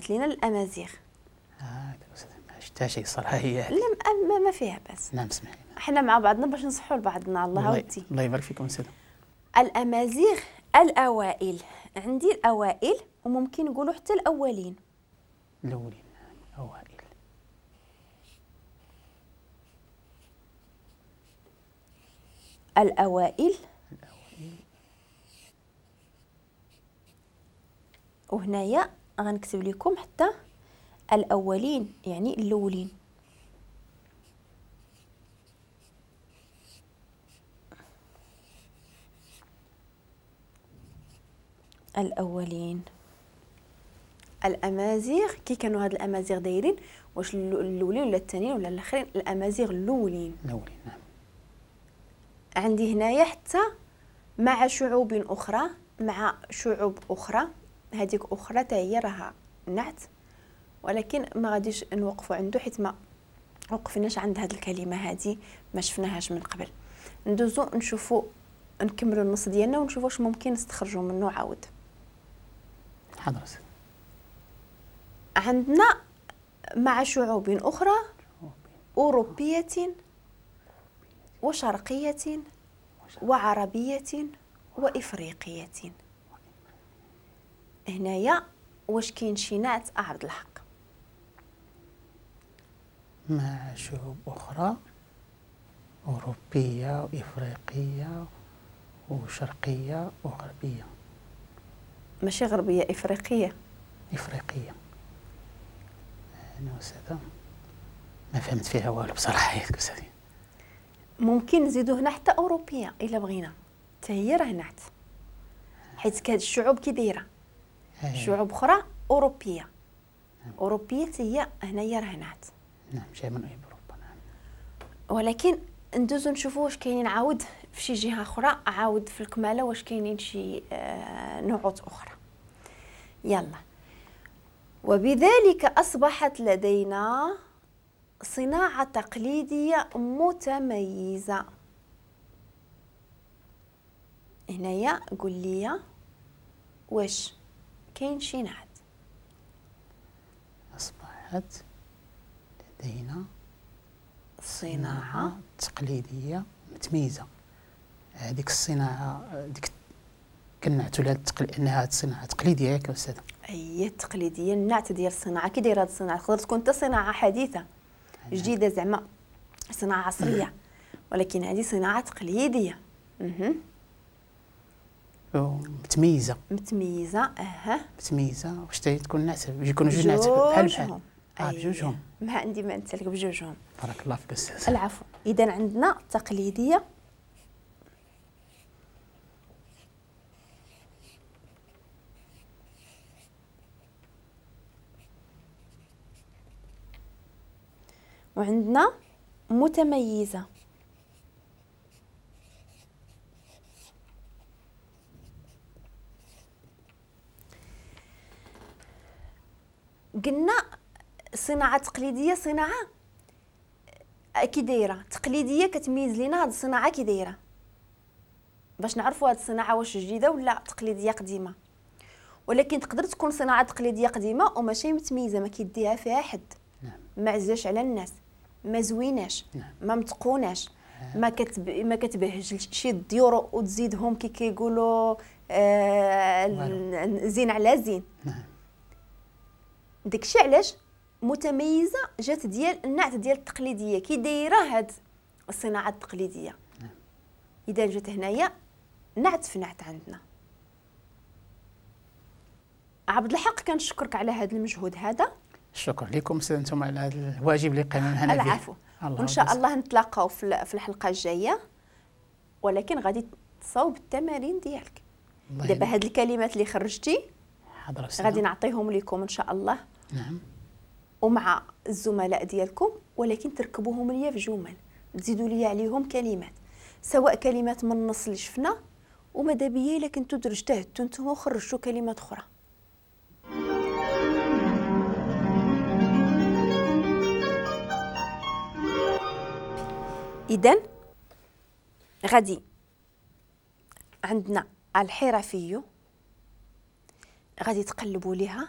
كتنعت لينا الامازيغ. ما شفتها شي صراحة هي. لا ما فيها باس. نعم اسمح لي. حنا مع بعضنا باش نصحوا لبعضنا. الله ودي. الله يبارك فيكم سيدي. الامازيغ الاوائل، عندي الاوائل وممكن نقولوا حتى الاولين. الاولين الاوائل. الأوائل. وهنايا غنكتب لكم حتى الأولين يعني الأولين. الأولين. الأمازيغ كي كانوا هاد الأمازيغ دايرين، واش الأولين ولا الثانيين ولا الآخرين؟ الأمازيغ الأولين. الأولين نعم. عندي هنايا حتى مع شعوب أخرى، مع شعوب أخرى، هذيك أخرى حتى هي راها نعت، ولكن ما غاديش نوقفوا عنده حيت ما وقفناش عند هذه الكلمة هذه، ما شفناهاش من قبل. ندوزو نشوفوا، نكملوا النص ديالنا ونشوفوا واش ممكن نستخرجوا منه عاود. حاضر. عندنا مع شعوب أخرى أوروبية وشرقية وعربية وإفريقية. هنايا واش كاين شي نعت عبد الحق؟ مع شعوب أخرى أوروبية وإفريقية وشرقية وغربية. ماشي غربية، إفريقية. إفريقية. أنا أستاذة ما فهمت فيها والو بصراحة يا أستاذي. ممكن نزيدو هنا حتى أوروبية إلا بغينا، حتى هي راه نعت، حيت هاد الشعوب كي دايرة شعوب أخرى أوروبية. أوروبية هي هنايا راه نعت. نعم جاي من أوروبا. نعم. ولكن ندوزو نشوفو واش كاينين عاود في شي جهة أخرى، عاود في الكمالة واش كاينين شي نعوت أخرى. يلا. وبذلك أصبحت لدينا صناعة تقليدية متميزة. هنايا قول لي واش كاين شي نعت؟ أصبحت لدينا صناعة تقليدية متميزة. هذيك الصناعة ديك كنعتو لها انها صناعة تقليدية ياك أستاذة؟ أي التقليدية، النعت ديال الصناعة كي دايرة هاد الصناعة؟ تقدر تكون حتى صناعة حديثة جديدة زعما صناعة عصرية، ولكن هذه صناعة تقليدية. متميزة. متميزة اها. متميزة واش تكون نعت؟ يكونوا جوج نعت بحال بحال. بجوجهم. ما عندي ما نتسالك بجوجهم. بارك الله فيك أستاذ. العفو. إذا عندنا تقليدية وعندنا متميزة. قلنا صناعة تقليدية، صناعة كي دايرة تقليدية كتميز لينا هاد الصناعة كي دايرة باش نعرفوا هاد الصناعة واش جديدة ولا تقليدية قديمة. ولكن تقدر تكون صناعة تقليدية قديمة وماشي متميزة، ما كيديها فيها حد. نعم. ما عزاش على الناس، ما زويناش. نعم. ما متقوناش. ما كتبهجلش شي الديور وتزيدهم كي كيقولوا زين على زين. نعم. داكشي علاش متميزة جات ديال النعت ديال التقليدية كي دايرة هاد الصناعة التقليدية. نعم. اذا جات هنايا نعت في نعت عندنا. عبد الحق كنشكرك على هذا المجهود هذا. شكرا لكم انتم على هذا الواجب اللي قمنا به. العفو. وان شاء الله نتلاقاو في الحلقة الجاية، ولكن غادي تصاوب التمارين ديالك. دابا هاد الكلمات اللي خرجتي غادي نعطيهم لكم ان شاء الله. نعم. ومع الزملاء ديالكم، ولكن تركبوهم ليا في جمل، تزيدوا لي عليهم كلمات، سواء كلمات من النص اللي شفنا، وماذا بيا الا كنتو اجتهدتو نتوما وخرجتو كلمات اخرى. اذا غادي عندنا الحرفي، غادي تقلبوا ليها